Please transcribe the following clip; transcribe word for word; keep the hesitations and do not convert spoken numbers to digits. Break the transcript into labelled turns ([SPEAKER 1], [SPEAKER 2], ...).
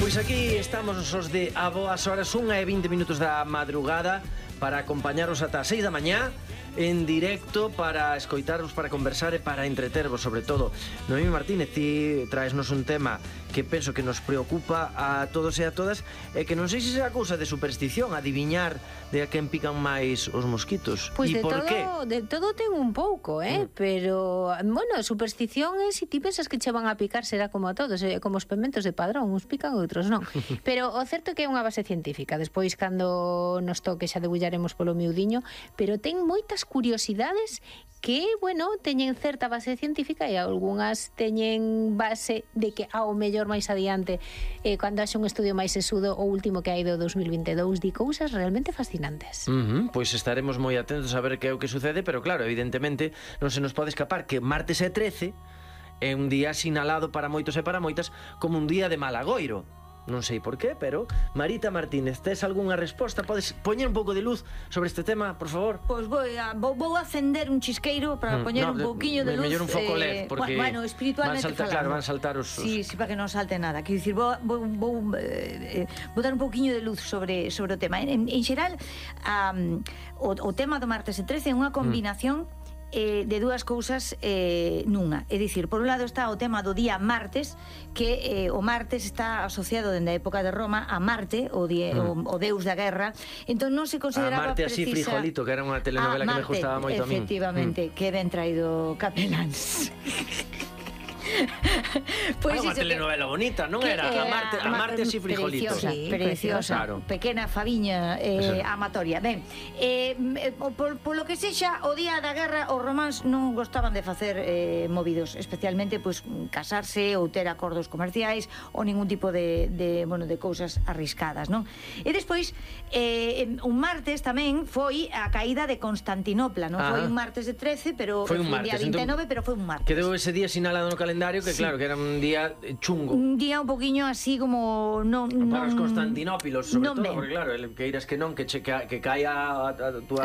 [SPEAKER 1] Pois aquí estamos os de a boas horas, unha e vinte minutos da madrugada, para acompañaros ata as seis da mañá en directo, para escoitaros, para conversar e para entretervos, sobre todo. Noemí Martínez, ti traesnos un tema que penso que nos preocupa a todos e a todas, e que non sei se será cousa de superstición, adiviñar de a quen pican máis os mosquitos.
[SPEAKER 2] Pois
[SPEAKER 1] e
[SPEAKER 2] de
[SPEAKER 1] por
[SPEAKER 2] todo,
[SPEAKER 1] qué?
[SPEAKER 2] de todo ten un pouco, eh? Mm. Pero, bueno, superstición é se ti pensas que che van a picar será como a todos, eh? Como os pementos de Padrón, uns pican e outros non. Pero o certo é que é unha base científica. Despois, cando nos toque, xa debullaremos polo miudiño, pero ten moitas curiosidades que, bueno, teñen certa base científica e algunhas teñen base de que ao mellor máis adiante, eh, cando haxe un estudio máis sesudo, o último que hai do dos mil vinte e dous, di cousas realmente fascinantes.
[SPEAKER 1] Uh -huh, pois estaremos moi atentos a ver que é o que sucede, pero claro, evidentemente non se nos pode escapar que martes e trece é un día sinalado para moitos e para moitas como un día de malagoiro. Non sei por qué, pero Marita Martínez, tes algunha resposta? Podes poñer un pouco de luz sobre este tema, por favor?
[SPEAKER 3] Pois pues vou, vou, vou acender un chisqueiro para mm, poñer no, un pouquiño de, de luz.
[SPEAKER 1] Mellor un foco L E D, porque
[SPEAKER 3] bueno, espiritualmente
[SPEAKER 1] van saltar, claro, van saltar os...
[SPEAKER 3] Sí, sí, para que non salte nada. Quero dicir, vou, vou, vou, eh, vou dar un pouquiño de luz sobre, sobre o tema. En, en xeral, um, o, o tema do martes e trece é unha combinación mm. Eh, de dúas cousas eh, nunha. É dicir, por un lado está o tema do día martes, que eh, o martes está asociado dende a época de Roma a Marte, o, die, mm. o, o deus da guerra. Entón non se consideraba
[SPEAKER 1] a Marte
[SPEAKER 3] precisa...
[SPEAKER 1] así frijolito, que era unha telenovela que me gustaba moito a min.
[SPEAKER 3] Efectivamente, mm. que ben traído Capelans.
[SPEAKER 1] Pois pues unha telenovela que, bonita, non era? A Marte, a Marte así frijolito.
[SPEAKER 3] Preciosa, sí, preciosa, claro. Pequena faviña eh, amatoria. Ben, eh, por, por lo que sexa, o día da guerra os románs non gostaban de facer eh, movidos, especialmente pois pues, casarse ou ter acordos comerciais ou ningún tipo de, de, bueno, de cousas arriscadas, non? E despois, eh, un martes tamén foi a caída de Constantinopla, non? Ah. Foi un martes de trece, pero foi un, martes, un día vinte e nove, entón, pero foi un martes.
[SPEAKER 1] Quedou ese día sinalado no calendario, que sí. Claro, que era un día chungo.
[SPEAKER 3] Un día un poquinho así como non,
[SPEAKER 1] para
[SPEAKER 3] non,
[SPEAKER 1] os Constantinópilos, sobre
[SPEAKER 3] non
[SPEAKER 1] todo,
[SPEAKER 3] ben.
[SPEAKER 1] porque claro, que iras que non, que, che, que, que caia a, a, a tua...